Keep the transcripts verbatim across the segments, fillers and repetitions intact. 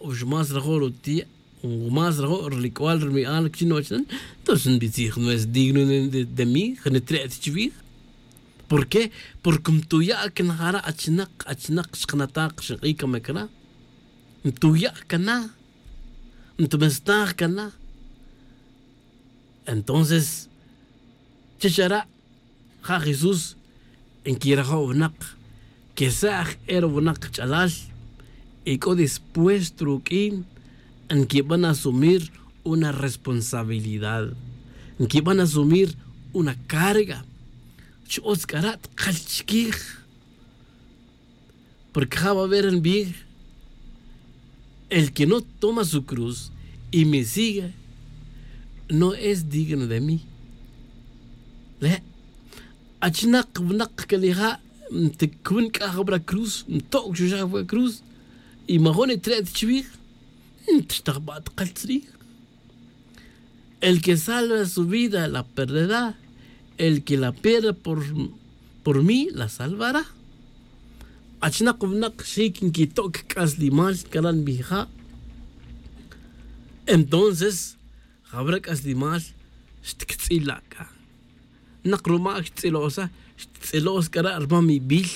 o xmas rajo' ruti' o más rajo' rilic'ual rimi'al que chi nochnan. Entonces nbitzij no es digno de mí, jnitre' ta chwij. ¿Por qué? Porque mtuya' can jara' achinak achinak xkanataj xnk'i' camic ra. Mtuya' cana. Ntmestaj cana. Entonces chich ara' ja jesús nquirajo' winak que sa' aj e ri winak kach'alal y c'o dispuesto ruq'uin nquiban asumir una responsabilidad, nquiban asumir una carga. Chi utz c'ara' tkal chiquij. Porque ja va a ver nbij el que no toma su cruz y me sigue no es digno de mí. Le' achinak winak que nija' ntcuun c'a jawra cruz ntoc chuxaj jawra cruz y majo' nitre' ta chwij. Ntrixtaj ba' tkal tzrij. El que salva su vida la perderá. El que la pierde por mí la salvará. Achinak winak xic nquitoc c'aslimal cara' nbija'. Entonces jawra c'aslimal xtctz'ila' c'a. Nak rumac xttz'ilo'sa xttz'ilo'sa c'ara' rmamibil.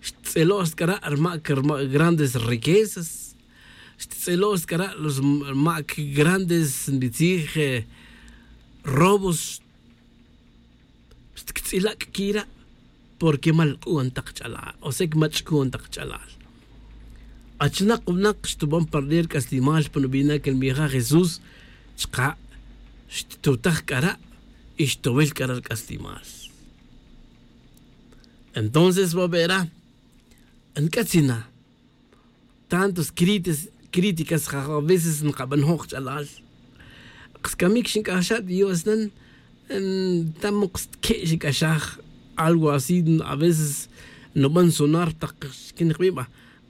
Xttz'ilo'sa c'ara' rmac rmac grandes riquezas. Xttz'ilo'sa c'ara' rmac grandes nbitzij robos. Xtctz'ila' c'a quira' porque mal c'uon tak ch'alal o sea que mach'c'uon tak ch'alal. Achinak winak xtuban parder c'aslimal pa nubinac nbija' jesús chka' xtutaj c'ara' y xtowil c'ara' rc'aslimal. Entonces va vera nc'atzina tantos críticas a veces nkabanojo' kach'alal. Kas camic xinc'axaj dios nan tamo kas tque' xinc'axaj algo así. A veces nuban sonar tak xquin kabiba.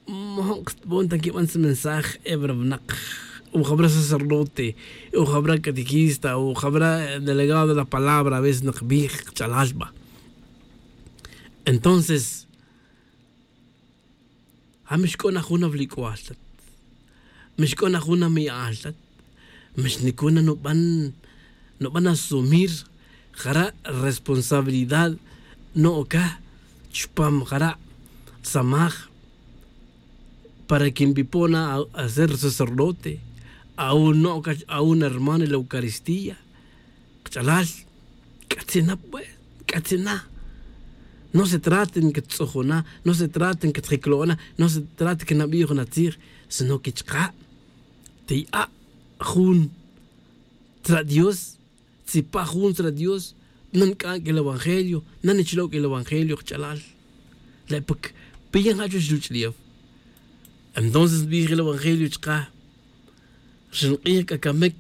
Mojo' kas tbon ta nquiban sa mensaje e wara winak o jawara sacerdote o jawara catequista o jawara delegado de la palabra a veces nkabij kach'alal ba. Entonces ja mixc'o na jun awilic'ual tat. Mixc'o na jun ami'al tat. Mixnicuna nuban nuban asumir jara' responsabilidad no'oca chupam jara' samaj para que nbipo' na a ser sacerdote a un no'oca a un hermano en la eucaristía. Kach'alal c'atzin na pues. C'atzin na. No se trata nquittz'ujuna. No se trata nquitjiclo'ona. No se trata que nabi' jun atzij sino que chka' tiya' jun tzra' dios. Tzipa' jun tzra' dios. Nanc'an c'a el evangelio. Nanichlo' c'a el evangelio kach'alal. Le' puk piyan ja' chuwech ruch'ulef. Entonces nbij el evangelio chka' xink'ij c'a camic.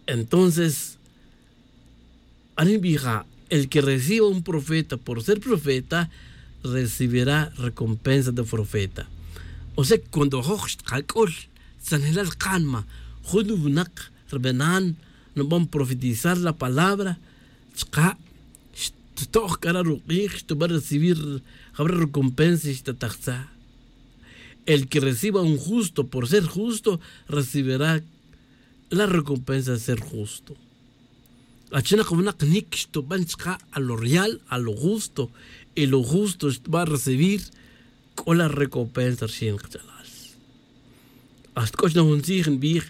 Entonces arin nbija' el que reciba un profeta por ser profeta recibirá recompensa de profeta. O sea cuando ajoj xtkac'ul tzanjelal kánima jun winak rbenan nuban profetizar la palabra chka' xtto'j c'ara' ruk'ij xtuba recibir jawara recompensa xtatajtza. El que reciba un justo por ser justo recibirá la recompensa de ser justo. Achinak winak nic xtuban chka' a lo real a lo justo y lo justo xtuba recibir c'o la recompensa rxin kach'alal. Hasta c'o chna jun tzij nbij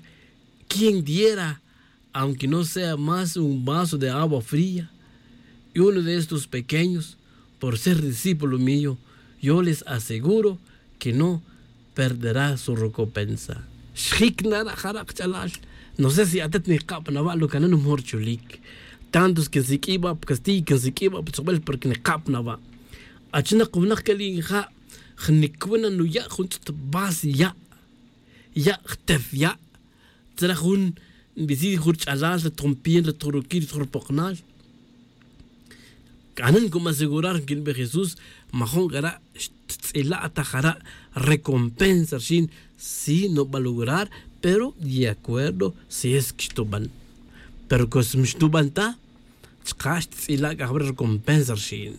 quien diera aunque no sea más un vaso de agua fría y uno de estos pequeños por ser discípulo mío yo les aseguro que no perderá su recompensa. Xjic na ra' jara' kach'alal. No sé si atat nikab na wa' lo canan mejor chulic tantos que nsiq'ui' wa' pa castiy que nsiq'ui' wa' pa chukbel porque nikab na wa'. Achinak winak que li' nja' jnic wi na nuya' jun tz'ut vas ya' ya' jtef ya' tzra jun nbitij jun rch'alal rat jun pien rat jun ruquil rat jun rupoknal. C'anan como asegurar nquinbe jesús majun c'ara' xttz'ila' ta jara' recompensa rxin si nuba lograr pero de acuerdo si es que xtuban. Pero cos mixtuban ta chka' xttz'ila' c'a jawara recompensa rxin.